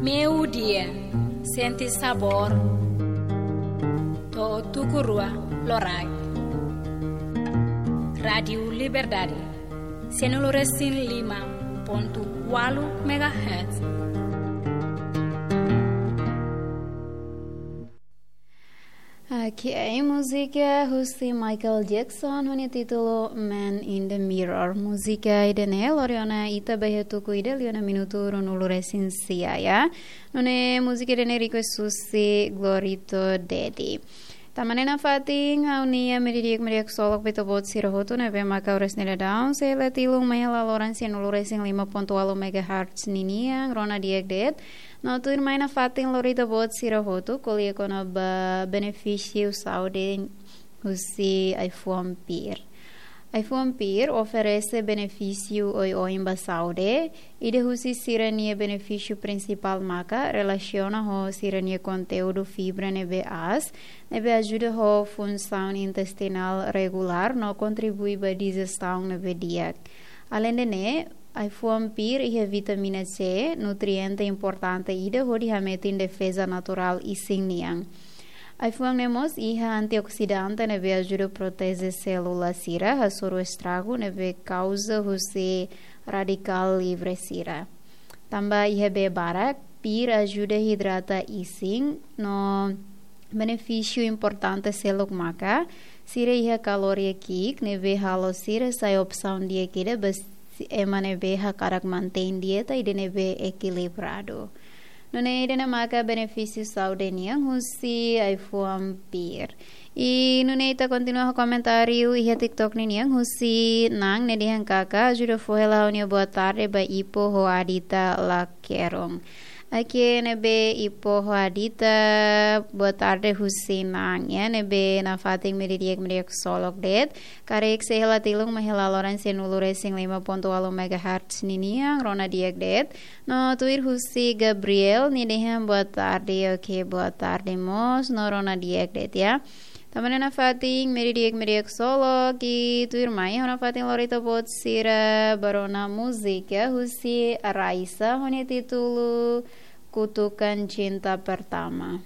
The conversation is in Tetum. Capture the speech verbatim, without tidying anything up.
Meiudia, sente sabór. To'o tuku rua loraik. Rádiu Liberdade, sanulu-resin-lima pontu ualu megahertz. Oke, múzika husi Michael Jackson ho nia títulu Man in the Mirror. Múzika ida-ne'e lori ona ita ba iha tuku ida liu ona minutu ruanulu-resin-sia, ya. Nune'e múzika ida-ne'e request husi Glorito Dedi. Tanba ne'e nafatin ha'u-nia meiudia di'ak, meiudia ksolok ba ita-boot sira hotu ne'ebé mak oras ne'e daudaun sei hela tilun mai hela loron sanulu-resin-lima pontu ualu megahertz ninian, rona di'ak de'it. No tuirmai nafatin lori ita-boot sira hotu ko'alia kona-ba benefísiu saúde husi ai-fuan PIR. Ai-fuan PIR oferese benefísiu oioin ba saúde. Ida husi sira-nia benefísiu prinsipál maka relasiona ho sira-nia konteúdu fibra ne'ebé aas, ne'ebé ajuda ho funsaun intestinál regulár no kontribui ba dijesaun ne'ebé di'ak. Aleinde ne'e, ai-fuan PIR iha vitamina C, nutriente importante ida hodi hametin defeza naturál isin nian. Ai-fuan ne'e mós iha antioksidante ne'ebé ajuda proteje sélula sira hasoru estragu ne'ebé kauza husi radikál livre sira. Tanba iha bee barak, PIR ajuda hidrata isin no benefísiu importante seluk maka sira iha kaloria ki'ik ne'ebé halo sira sai opsaun di'ak ida ba ema ne'ebé hakarak mantein dieta ida ne'ebé ekilibradu. Nune'e ida-ne'e maka benefísiu saúde nian husi ai-fuan PIR. I nune'e ita kontinua ho komentáriu iha TikTok ninian husi Nang ne'e dehan katak ajuda fó hela ha'u-nia boa tarde ba Ipo ho Adita Lakeron. Oke, ne'ebé Ipo ho Adita, boa tarde husi Nang, ya, ne'ebé nafatin meiudia di'ak, meiudia ksolok de'it. Karik sei hela tilun mai hela loron sanulu-resin-lima pontu ualu megahertz ninian, rona di'ak de'it. No tuir husi Gabriel, nia dehan boa tarde, oke, boa tarde mós, no rona di'ak de'it, ya. Tanba ne'e nafatin meiudia di'ak, meiudia ksolok, i tuirmai ha'u nafatin lori ita-boot sira ba rona múzika husi Raisa ho nia títulu Kutukan Cinta Pertama.